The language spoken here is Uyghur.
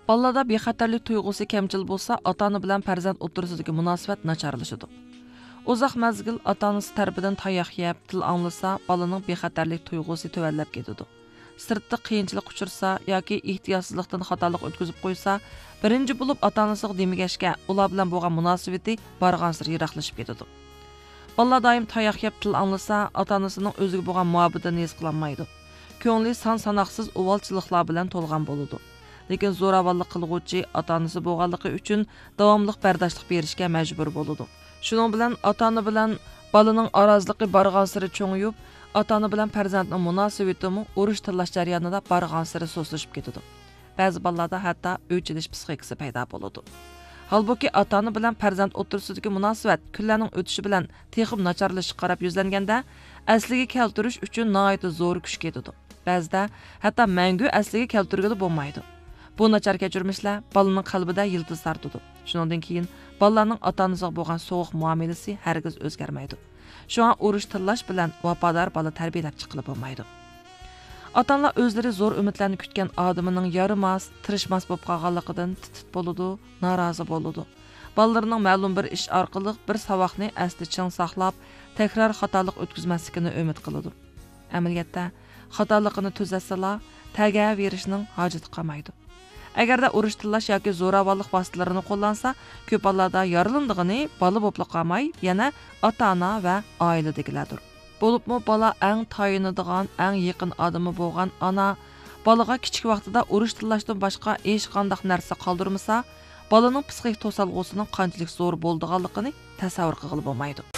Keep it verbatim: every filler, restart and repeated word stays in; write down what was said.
بالىلاردا بىخەتەرلىك تۇيغۇسى كەمچىل بولسا، ئاتا ئانا بىلەن پەرزەنت ئوتتۇرىسىدىكى مۇناسىۋەت ناچارلىشىدۇ. ئۇزاق مەزگىل ئاتا ئانىسى تەرىپىدىن تاياق يەپ، تىل ئاڭلىسا، بالىنىڭ بىخەتەرلىك تۇيغۇسى تۆۋەنلەپ كېتىدۇ. سىرتتا قىيىنچىلىق ئۇچرىسا ياكى ئېھتىياتسىزلىقتىن خاتالىق ئۆتكۈزۈپ قويسا، بىرىنچى بولۇپ ئاتا ئانىسىغا دېمىگەچكە، ئۇلار بىلەن بولغان مۇناسىۋىتى بارغانسېرى يىراقلىشىپ كېتىدۇ. بالىلار دائىم تاياق يەپ تىل ئاڭلىسا، ئاتا ئانىسىنىڭ ئۆزىگە بولغان مۇھەببىتىنى ھېس قىلالمايدۇ. كۆڭلى سان ساناقسىز ئۇۋالچىلىقلار بىلەن تولغان بولىدۇ. لېكىن زوراۋانلىق قىلغۇچى ئاتا ئانىسى بولغانلىقى ئۈچۈن داۋاملىق بەرداشلىق بېرىشكە مەجبۇر بولىدۇ. شۇنىڭ بىلەن ئاتا ئانا بىلەن بالىنىڭ ئارازىلىقى بارغانسېرى چوڭىيىپ، ئاتا ئانا بىلەن پەرزەنتنىڭ مۇناسىۋىتىمۇ ئۇرۇش تىللاش جەريانىدا بارغانسېرى سۇسلىشىپ كېتىدۇ. بەزى بالىلاردا ھەتتا ئۆچ ئېلىش پسىخىكىسى پەيدا بولىدۇ. ھالبۇكى، ئاتا ئانا بىلەن پەرزەنت ئوتتۇرىسىدىكى مۇناسىۋەت كۈنلەرنىڭ ئۆتۈشى بىلەن تېخىمۇ ناچارلىشىشقا قاراپ يۈزلەنگەندە، ئەسلىگە كەلتۈرۈش ئۈچۈن ناھايىتى زور كۈچ كېتىدۇ. بەزىدە ھەتتا مەڭگۈ ئەسلىگە كەلتۈرگىلى بولمايدۇ. بۇ ناچار كەچۈرمىشلەر بالىنىڭ قەلبىدە يىلتىز تارتىدۇ. شۇنىڭدىن كېيىن بالىلارنىڭ ئاتا ئانىسىغا بولغان سوغۇق مۇئامىلىسى ھەرگىز ئۆزگەرمەيدۇ. شۇڭا ئۇرۇش تىللاش بىلەن ۋاپادار بالا تەربىيەلەپ چىققىلى بولمايدۇ. ئاتا ئانىلار ئۆزلىرى زور ئۈمىدلەرنى كۈتكەن ئادىمىنىڭ يارىماس، تىرىشماس بولۇپ قالغانلىقىدىن تىت تىت بولىدۇ، نارازى بولىدۇ. بالىلىرىنىڭ مەلۇم بىر ئىش ئارقىلىق بىر ساۋاقنى ئەستە چىڭ ساقلاپ، تەكرار خاتالىق ئۆتكۈزمەسلىكىنى ئۈمىد قىلىدۇ. ئەمەلىيەتتە، خاتالىقىنى تۈزەتسىلا، تەگەۋېرىشنىڭ ھاجىتى قالمايدۇ. ئەگەردە ئۇرۇش تىللاش ياكى زوراۋانلىق ۋاسىتىلىرىنى قوللانسا، كۆپ ھاللاردا يارىلىنىدىغىنى بالا بولۇپلا قالماي، يەنە ئاتا ئانا ۋە ئائىلىدىكىلەردۇر. بولۇپمۇ بالا ئەڭ تايىنىدىغان، ئەڭ يېقىن ئادىمى بولغان ئانا بالىغا كىچىك ۋاقتىدا ئۇرۇش تىللاشتىن باشقا ھېچقانداق نەرسە قالدۇرمىسا، بالىنىڭ پسىخىك توسالغۇسىنىڭ قانچىلىك زور بولىدىغانلىقىنى تەسەۋۋۇر قىلغىلى بولمايدۇ.